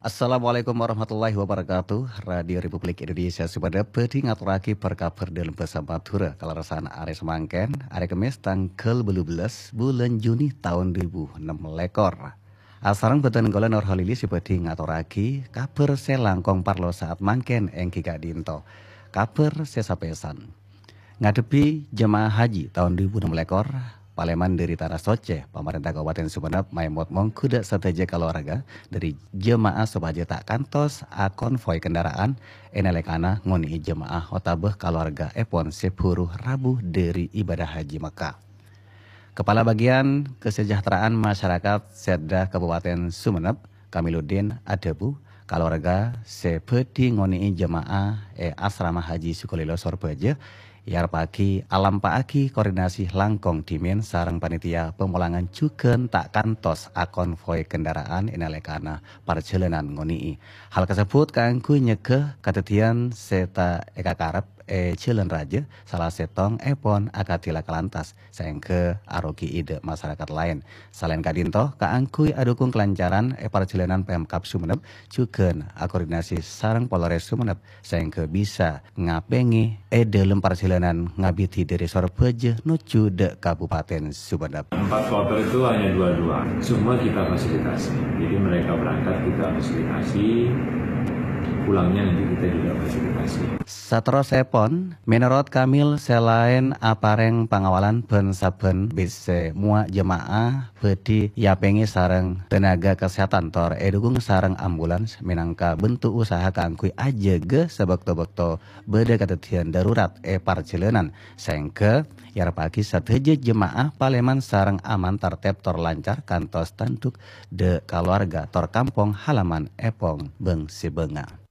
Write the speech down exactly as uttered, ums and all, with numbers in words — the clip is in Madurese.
Assalamualaikum warahmatullahi wabarakatuh. Radio Republik Indonesia Sumenep bhâdhi ngatorraghi bâr-kabhâr dâlem bhâsa Madhurâ kalerressan arè samangkèn, arè Kemmès tangghâl bâllu bellâs bulân Juni taon du èbu ennem lèkor. Asareng bhâdhân kaulâ Nur Halili sè bhâdhi ngatorraghi kabhâr sè langkong parlo saat mangkèn èngghi ka'dinto. Kabhâr sè sapèsan. Ngadhebbhi jemaah haji taon du èbu ennem lèkor, palèman dhâri Tanah Socè, Pamarènta Kabupaten Sumenep maèmot mongghu dâ' sadhâjâ kalowarga dhâri jemaah sopajâ ta' kantos akonvoi kendaraan è nalèkana ngonè'è jemaah otabâ kalowargaèpon sè buru rabu dhâri ibadah haji Mekkah. Kepala Bagian Kesejahteraan Masyarakat Setda Kabupaten Sumenep, Kamiluddin adhâbu, kalowarga sè bhâdhi ngonè'è jemaah è Asrama Haji Sukolilo Sorbhâjâ èarepaghi alampa'aghi koordinasi langkong dhimèn sareng panitia pamolangan jhughân ta' kantos akonvoi kendaraan è nalèkana parjhâlânan ngonè'è. Hal kasebbhut kaangghuy nyegghâ kadhâddhiyân sè ta' èkakarep è jhâlân rajâ, sala sèttongèpon akadhi laka lantas, saèngghâ arogi'i dâ' masarakat laèn. Salaèn ka'dinto, kaangghuy adhukung kalancaran è parjhâlânan Pemkab Sumenep, jhughân akoordinasi sareng Polres Sumenep, saèngghâ bisa ngapèngè è dâlem parjhâlânan ngabidhi dhâri Sorbhâjâ nojjhu dâ' Kabupaten Sumenep. Empat kloter itu hanya dua-dua, semua kita fasilitasi. Jadi mereka berangkat, kita fasilitasi, pulangnya nanti kita juga fasilitasi. Saterrossèpon, mènorot Kamil sè laèn aparèng pangawalan bân sabbhân bis sè mowa' jemaah bhâdhi èapèngè sareng tenaga kesehatan tor èdhukung sareng ambulans mènangka bentuk usaha kaangghuy ajâgâ sabâkto-bâkto bâdâ kadhâddhiyân darurat è parjhâlânan, saèngghâ èarepaghi sadhâjâ jemaah palèman sareng aman tertib tor lancar kantos tandhuk dâ' kalowarga tor kampong halaman èpong bâng-sèbângnga.